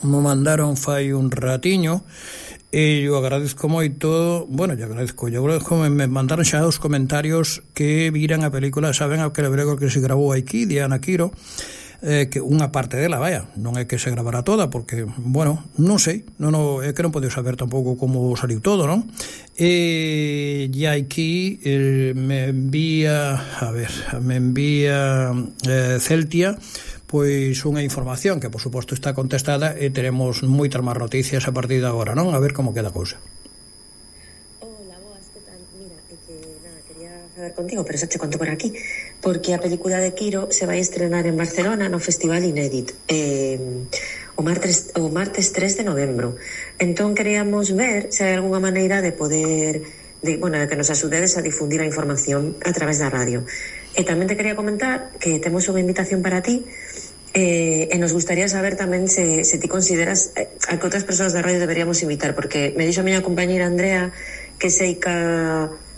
me mandaron fai un ratiño, e eu agradezco moito, bueno, eu agradezco me mandaron xa os comentarios que viran a película, saben a que lebrego que se grabou aquí, Diana Quiro, que unha parte dela, vaya, non é que se gravará toda, porque, bueno, non sei, é que non podeu saber tampouco como saliu todo, non? E aquí me envía Celtia pois unha información que por suposto está contestada, e teremos moitas máis noticias a partir de agora, non? A ver como queda a cousa. Hola, boas, que tal? Mira, nada, quería falar contigo, pero xa che conto por aquí, porque a película de Quiro se vai estrenar en Barcelona no Festival Inédit o martes 3 de novembro. Entón queríamos ver se hai algunha maneira de poder de que nos axudedes a difundir a información a través da radio. E tamén te quería comentar que temos unha invitación para ti, e nos gustaría saber tamén se ti consideras a que outras persoas da radio deberíamos invitar, porque me dixo a miña compañera Andrea que sei que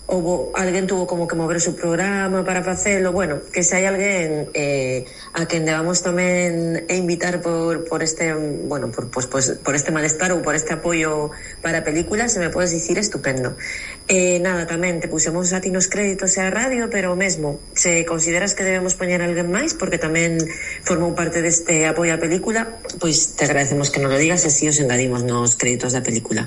alguén tuvo como que mover o seu programa para facelo, bueno, que se hai alguén a quen debamos tamén invitar por este, bueno, por este malestar ou por este apoio para a película, se me podes dicir, estupendo. Nada, tamén te pusemos a ti nos créditos e a radio, pero mesmo, se consideras que debemos poñer a alguén máis, porque tamén formou parte deste apoio á película, pois te agradecemos que nos lo digas e así os engadimos nos créditos da película.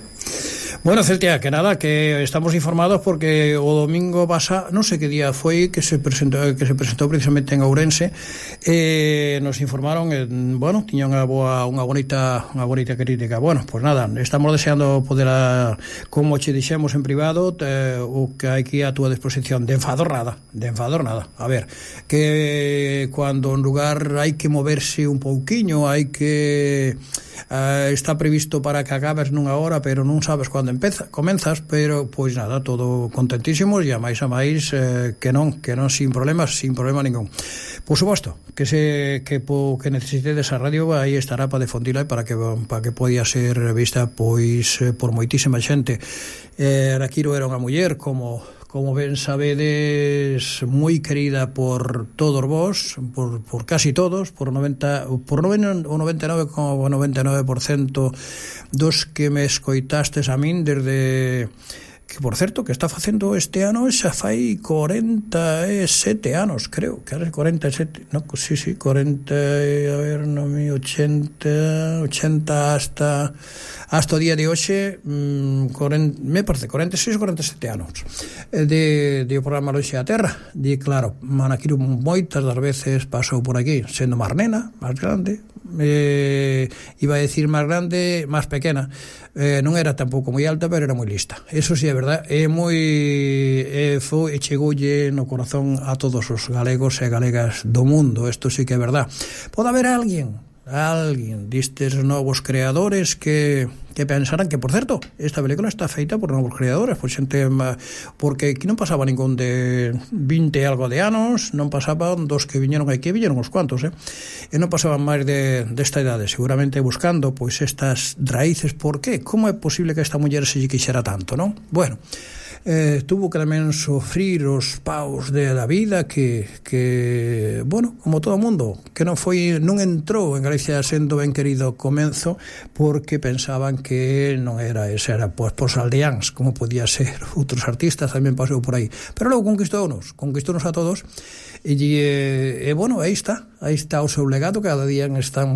Bueno, Celtia, que nada, que estamos informados porque o domingo pasado, non sei que día foi que se presentou precisamente en Ourense, nos informaron, bueno, tiña unha bonita crítica. Bueno, pues nada, estamos deseando poder, como che dixemos en privado, o que hai aquí a túa disposición, de enfador nada. A ver, que cuando en lugar hai que moverse un pouquiño, hai que está previsto para que acabes nunha hora, pero non sabes cando comenzas, pero pois nada, todo contentísimos, e a máis que non sin problema ningún. Por suposto, que necesitedes a radio, aí estará para difundila e para que podía ser vista pois por moitísima xente. Quiro era unha muller, como ben sabedes, moi querida por todos vos, por casi todos, por 99,99% dos que me escoitastes a min desde que, por certo, que está facendo este ano xa fai 47 anos, creo, que era 47, no, sí, 40, a ver, 80 hasta o día de hoxe, me parece 46 ou 47 anos de o programa Lonxe a Terra. E claro, Ana Quiro moitas das veces pasou por aquí, sendo máis nena, máis grande, iba a decir máis grande, máis pequena, non era tampouco moi alta, pero era moi lista, eso sí é verdad, chegoulle no corazón a todos os galegos e galegas do mundo, isto sí que é verdad. Pode haber alguén destes novos creadores que pensaran que, por certo, esta película está feita por novos creadores, por xente, porque aquí non pasaba ningún de 20 e algo de anos, non pasaban dos que viñeron aquí, viñeron uns cuantos, e non pasaban máis desta idade, seguramente buscando pois estas raíces. Por qué? Como é posible que esta muller se lle quixera tanto, non? Bueno, tuvo que tamén sofrir os paus da vida que bueno, como todo o mundo, que non entrou en Galicia sendo ben querido ao comenzo, porque pensaban que non era ese, era pois aldeáns, como podía ser outros artistas, tamén pasou por aí, pero logo conquistounos a todos, e bueno, aí está o seu legado. Cada día están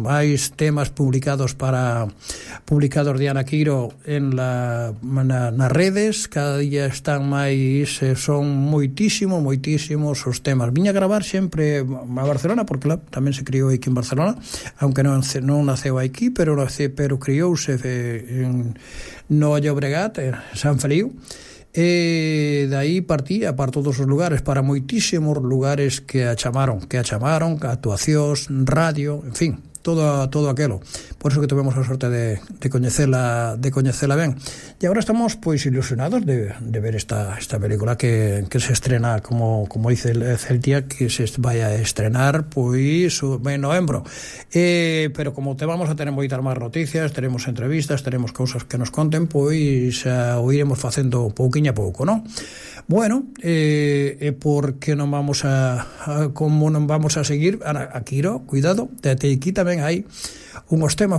máis temas publicados de Ana Quiro nas redes, cada día están máis, son moitísimos os temas. Viña a gravar sempre a Barcelona, porque tamén se criou aquí en Barcelona, aunque non naceu aquí, pero criouse no Llobregat, San Feliu, e daí partía para todos os lugares, para moitísimos lugares que a chamaron, actuacións, radio, en fin, todo aquelo. Por eso que tuvemos a sorte de coñecela ben. E agora estamos pois ilusionados de ver esta película que se estrena, como dice Celtia, que se vai a estrenar pois en novembro. Pero como te vamos a tener moitas máis noticias, teremos entrevistas, teremos cousas que nos conten, pois o iremos facendo pouquiño a pouco, non? Bueno, porque non vamos como non vamos a seguir a Quiro, cuidado, aquí tamén hai unhos temas